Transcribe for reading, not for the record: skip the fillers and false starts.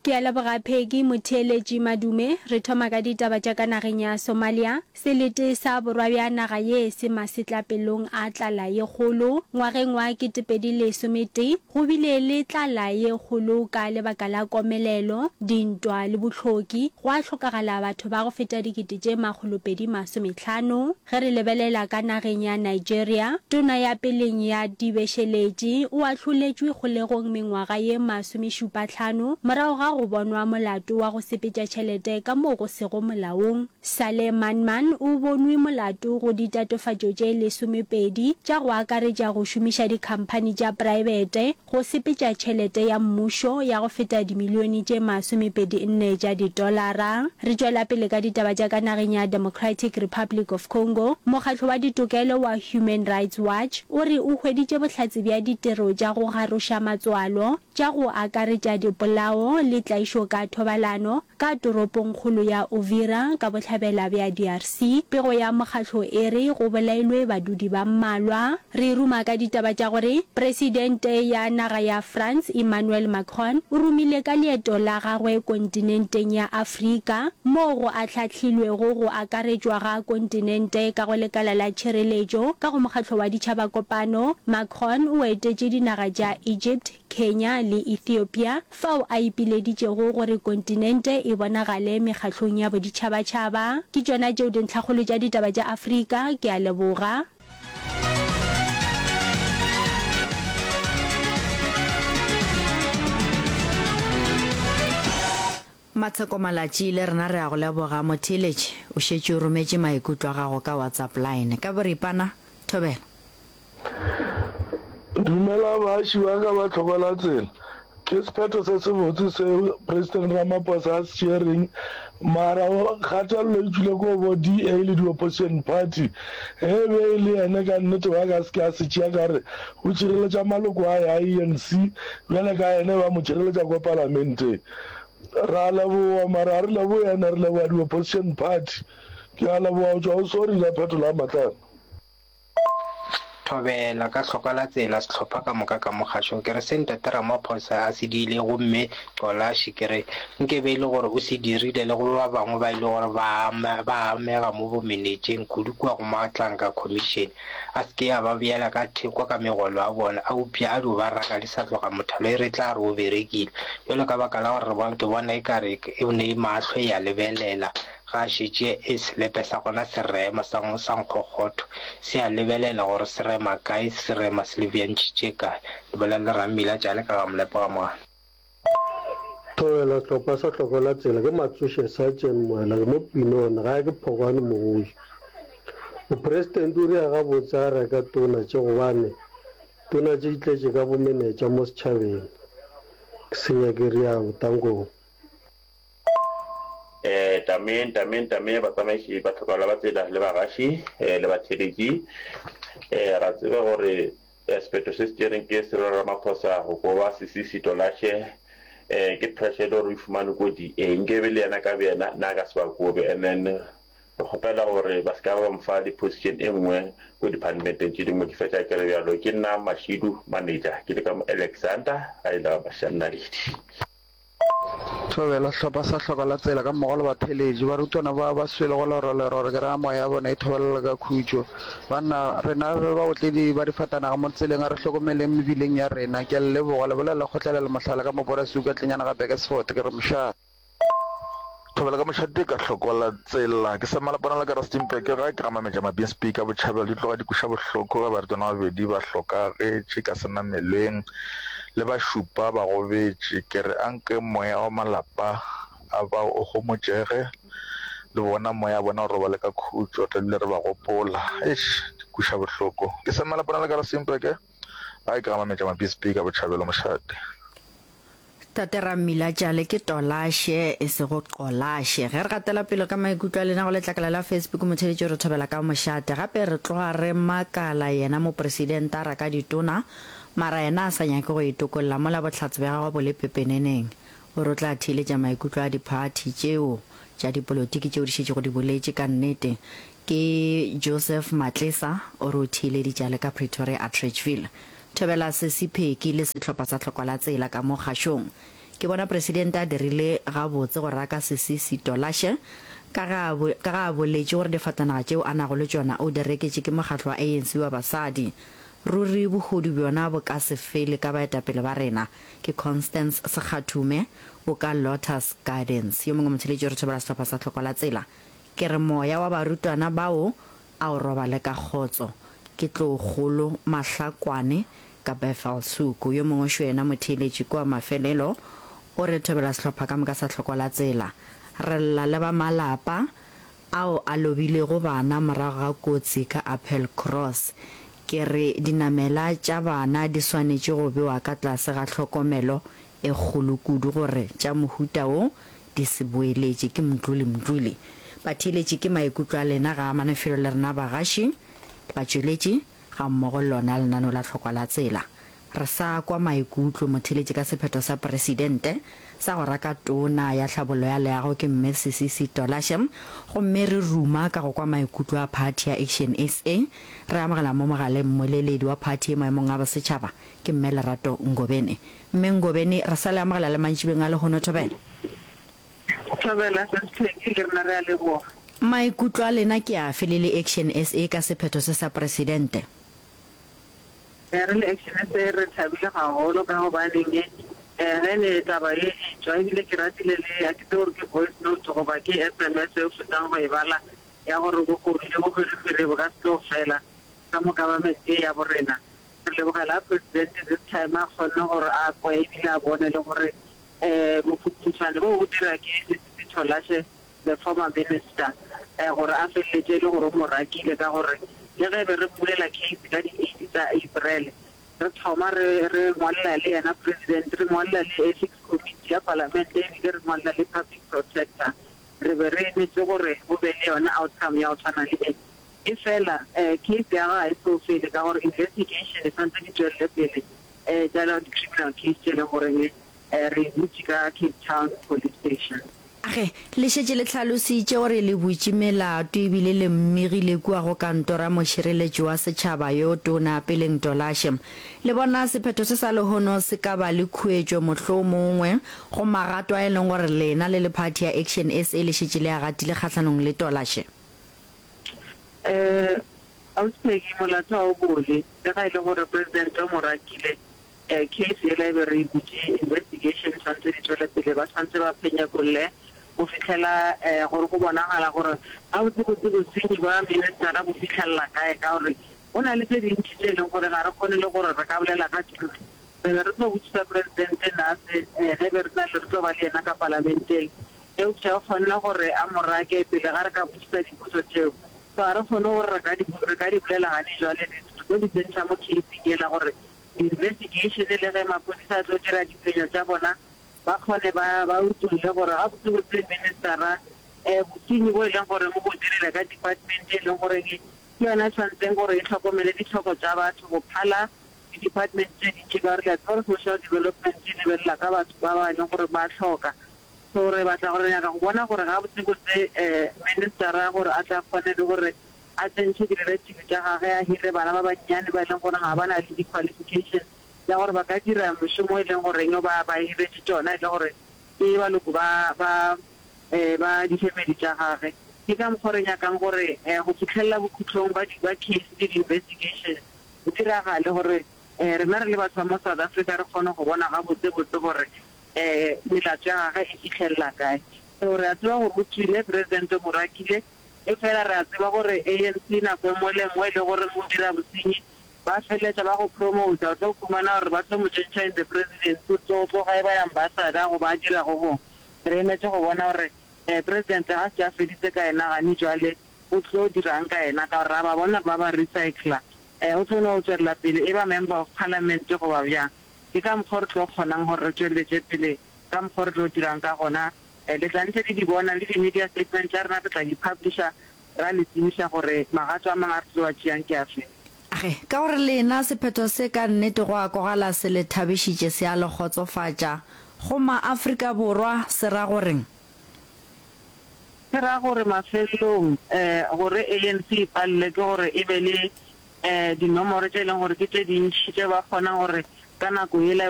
Ke a leboga Peggy Motheeletši Madume. Re thoma ka ditaba tša ka nageng ya Somalia. Selete sa borwa bja naga ye se masetlapelong a tlala ye kgolo. Ngwageng wa 2011 go bile le tlala ye kgolo ka lebaka la komelelo, dintwa le bohloki, gwa hlokagala batho ba go feta dikete tše 250. Ge re lebelela ka nageng ya Nigeria, tona ya peleng ya dibešeletši o ahloletšwe kgolegong mengwaga ye masomešupahlano morago ga go bonwa molato wa go sepetša tšhelete ka moo go sego molaong. Saleh Manman o bonwe molato go ditatofatšo tše lesomepedi tša go akaretša go šomiša dikhamphani tša praebete go sepetša tšhelete ya mmušo ya go feta dimilione tše masomepedi-nne tša ditolara. Re tšwela pele ka ditaba tša ka nageng ya Democratic Republic of Congo. Mokgatlo wa ditokelo wa Human Rights Watch o re o hweditše bohlatse bja ditiro tša go garoša matswalo tša go akaretša dipolao le tlaišo ka thobalano ka toropongkgolo ya Uvira ka bohlabela bja DRC. Pego ya mokgatlo e re go bolailwe badudi ba mmalwa. Re ruma ka ditaba tša gore Presidente ya naga ya France Emmanuel Macron o romile ka leeto la gagwe kontinenteng ya Afrika moo go ahlahlilwego go akaretšwa ga kontinente ka go lekala la tšhireletšo ka go Mokgatlo wa Ditšhaba Kopano. Macron o etetše dinaga tša Egypt, Kenya le Ethiopia, fao a ipileditšego gore kontinente e bonagale mekgahlong ya boditšhabatšhaba. Ke tšona tšeo dintlhakgolo tša ditaba tša Afrika. Ke a leboga. Matsheko Malatši, le rena re a go leboga. Motheeletši, o šetše o rometše maikutlo a gago ka WhatsApp line. Ka boripana, thobela. Dumela baaši ba ka ba Tlhokolatsela. Ke sephetho se sebotse seo President Ramaphosa a se tšereng mara kgatelelo e tšwile ko bo DA le di opposition party. Ge e be e le yene ka nnete ba ka se ke a se tšea ka re o tšireletša maloko a ya ANC bjale ka yene ba mo tšireletša ko palamenteng. Ra leboga mara ga re leboge yena re leboga di opposition party. Ke a leboga go tšwa go sorry ka phetolo ya Matlana. Thobela, ka hloka la tsela sehlopha ka moka ka mo kgašong. Ke re se Ntate Ramaphosa a se diile gomme Qolashi ke re nke be e le gore o se dirile le go ba bangwe ba e le gore ba ba amega mo bomenetšeng kudu kua go Matlanka Commission a se ke a ba beela ka theko ka megolo a bona a upša a dio ba raka di sa tloga mothalo e re tla re o berekile bjalo ka baka la gore re bona ke bona e ka re e ne mahlo e a lebelela Ga a šetše e selepe sa gona se rema sa, sa nkgokgotho, se a lebelela gore se rema kae, se rema se lebeantšhitše kae. Le bolela le Rammila tšale ka ga Molepo ga Mogala. Thobela hlopha sa hlokola tsela ke Matsoše Sergeant Moela ke mo Pinone gae ke Phokwane Mogoši. Mopresidente o ria gabotse a reka tona tše gobane tona tše di tletše ka bomenetša mo setšhabeng. Ke senya ke rialo. Tankong. Tame, tame, tame, batsamaiši ba tlhokagala ba tsela le bagaši le batheeletši. Ra tseba gore sephetho se se tšereng ke Cyril Ramaphosa go koba Sisisi Tolashe ke pressure e le gore o e fumane ko DA. Nkebe le yena ka boyena na ka se ba kobe and then re kgopela gore ba se ka ba mo fa le position e nngwe ko departmenteng tše dingwe. Ke fetša ke re bjalo ke nna Mashidu manager ke le ka mo Alexander ga e le ga Mashanaledi. Thobela, Sehlopha sa Hloka la Tsela ka mmogo le batheeletši, barutwana ba ba swelego lerole-role ke ra moya ya bona e thobelela ka khutšo. Banna, rena re baotledi ba difatanaga mo tseleng, a re hlokomeleng mebileng ya rena. Ke a le leboga. Le bolela Kgotlelelo Mohlala ka mo Borasuka Tlenyana ga Bekersford. Ke re mošate. Thobela ka mošate ka hloko la tsela. Ke sa malapana la ka Rustenburg gae ke ga Mametša Mabinsby ka Botšhabelo. Di tloga di kweša bohloko ge barutwana ba babedi ba hlokagetše ka senamelweng le ba šupa ba gobetše. Ke re anke moya wa malapa a bao o homotšege le bona moya wa bona o robale ka khutšo. Re tla dula re ba gopola. Eish, di kweša bohloko. Ke sa malapana la ka Rustenburg gae ke ga Mametša Mabinsby ka Botšhabelo mošate. Tate Rammila Tšale ke Tolashe e sego Qolashe. Ge re gatela pele ka maikutlo a lena go letlakala la Facebook motheletši o re thobela ka mošate. Gape re tloga re makala yena mopresidente a raka ditona mara yena a sa nyake go itokolla mola bohlatse bja gagwe bo le pepeneneng. O re o tla theeletša maikutlo a diphathi tšeo tša dipolotiki tšeo di šetšego di boletše ka nnete. Ke Joseph Matlesa o re o theeleditše a le ka Pretoria Atteridgeville. Thobela Sesi Pheki le sehlopha sa Tlhokwa la Tsela ka mo kgašong. Ke bona Presidente a dirile gabotse go raka Sisisi Tolashe ka ge a ka ge a boletše gore difatanaga tšeo a nago le tšona o di reketše ke mokgatlo wa ANC wa basadi. Ruri bohodu bjona bo ka se fele ka baetapele ba rena. Ke Constance Sekgathume o ka Lotus Gardens. Yo mongwe motheeletši o re thobela sehlopha sa Tlhoko la Tsela. Ke re moya wa barutwana bao a o robale ka kgotso. Ke Tloukgolo Mahlakwane ka Bethelshoek. Yo mongwe šo yena motheeletši kua mafelelo o re thobela sehlopha ka moka sa Tlhoko la Tsela. Re lla le ba malapa ao a lobilego bana morago ga kotsi ka Appelcross. Ke re dinamela tša bana di swanetše go bewa ka tlase ga tlhokomelo e kgolo kudu gore tša mohuta wo di se boeletše. Ke Mdluli Mdluli. Batheeletši ke maikutlo a lena ga amane felo le rena bagaši, batšweletši, gammogo le lona lenaneo la Tlhokwa la Tsela. Re sa kwa maikutlo motheeletši ka sephetho sa Presidente sa go raka Tona ya Tlhabollo ya Leago ke Mme Sisisi Tolashe gomme re ruma ka go kwa maikutlo a phathi ya Action SA. Re amogela mo mogaleng mmoleledi wa phathi ye maemong a bosetšhaba ke Mme Lerato Ngobeni. Mme Ngobeni, re sa le amogela le mantšibeng a lehono Thobela. Thobela, Sis Peggy, le rena re a leboga. Maikutlo a lena ke afe le le Action SA ka sephetho se sa Presidente? Re le Action SA re thabile gagolo ka gobaneng ge ne taba ye e tšwa ebile ke ratile le a ke tsebe gore ke voice note goba ke sms e o fetang go e bala ya gore bohodu le bohwirihwiri bo ka se tlo fela ka mo government ye ya borena. Re lebogela President this time a kgonne gore a kwe ebile a bone le gore bophuthuthwane bo bo dira ke Sisisi Tolashe the former minister gore a feleletše e le gore o mo rakile ka gore le ge be re mmulela case ka di eight tsa April re thoma re re ngwalela le yena president re ngwalela le ethics committee ya palamente ebile re ngwalela le public protector re be re emetše gore go be le yona outcome ya go tshwana le e. Efela case ya gagwe ga e so fele ka gore investigation e santse di tšwelele pele tša di criminal case tše leng goreng re e butše ka Cape Town Police Station. Ge, le šetše le hlalositše gore le butše melato ebile le mmegile kua go kantoro ya mošireletši wa setšhaba yo tona Peleng Tolashe. Le bona sephetho se sa lehono se ka ba le khuetšo mohlomongwe go magato a e leng gore lena le le phathi ya Action SA le šetše le a gatile kgahlanong le Tolashe? Eh, Ausi Peggy, molato ga o bole, le ga e le gore President o mo rakile, eh, case yela e be re e butše, investigation e tshwanetse di tšwele pele, ba tshwanetse ba phenyekolle go fihlela eh, gore go bonagala gore gabotsebotse bosenyi bwa ministera bo fihlelela kae, ka gore go na le tše dintši tše e leng gore ga re kgone le gore re ka bolela ka tšona. Re be re tlo botšiša President Naase eh, ge be re na le re tlo ba le yena ka palamenteng. Eupša o kgonne gore a mo rake pele ga re ka botšiša dipotšo tšeo. So ga re kgone gore re ka di, re ka di bolela gane jwale. Re tlo di tsentšha mo case-ing yela gore di-investigation le ge maphodisa a tlo dira diphenyo tša bona, ba kgone ba, ba utolle gore gabotsebotse minister-a um bosenyi bo e leng gore o bo dirile ka department e leng gore ke yona e tshwanetseng gore e hlokomele ditlhoko tša batho go phala di-department tše dintši ka gore le a tseba gore social development e lebelela ka batho ba ba e leng gore ba hloka. So re batla gore, re nyaka go bona gore gabotsebotse minister-a gore a tle a kgone le gore a tsentšhe di-relative tša gage, a hire bana ba bannyane ba e leng gore ga ba na le di-qualification tša gore ba ka dira mošomo e leng goreng ba ba hiretše tšona, e le gore ke baloko ba ba ba di-family tša gage. Ke ka mokgwa re nyakang gore go fihlelela bokhutlong ba ba case le di-investigation go diragale gore rena re le batho ba mo South Africa re kgone go bona gabotsebotse gore Melato ya gagwe e fihlelela kae. So re a tseba gore o tšwile, President o mo rakile, efela re a tseba gore ANC nako e nngwe le e nngwe e le gore o dira bosenyi, ba feleletša ba go promota, o tlo humana gore ba tlo mo tšentšha in the presidency, o tlo tloga e ba ambassador goba a dira go gongwe. Re emetše go bona gore President ga se a feditse ka yena gane jwale o tlo dirang ka yena ka gore ra ba bona ba ba recycler, o tlo no tšwelela pele e ba member of parliament goba bjang. Ke ka mokgwa o re tlo kgonang gore re tšweletše pele ka mokgwa o re tlo dirang ka gona. Le tla ntše le di bona, le di-media statement tša rena re tla di publisha ra le tsebiša gore magato a mangwe a re tlo a tšeang ke afe. Ge, ka gore lena sephetho se ka nnete go a kwagala se le thabišitše se a le kgotsofatša, go ma-Afrika Borwa se ra goreng? Se ra gore mafelelong gore ANC e palelwe ke gore e be le dinomoro tše e leng gore ke tše dintši tše ba kgonang gore ka nako yela.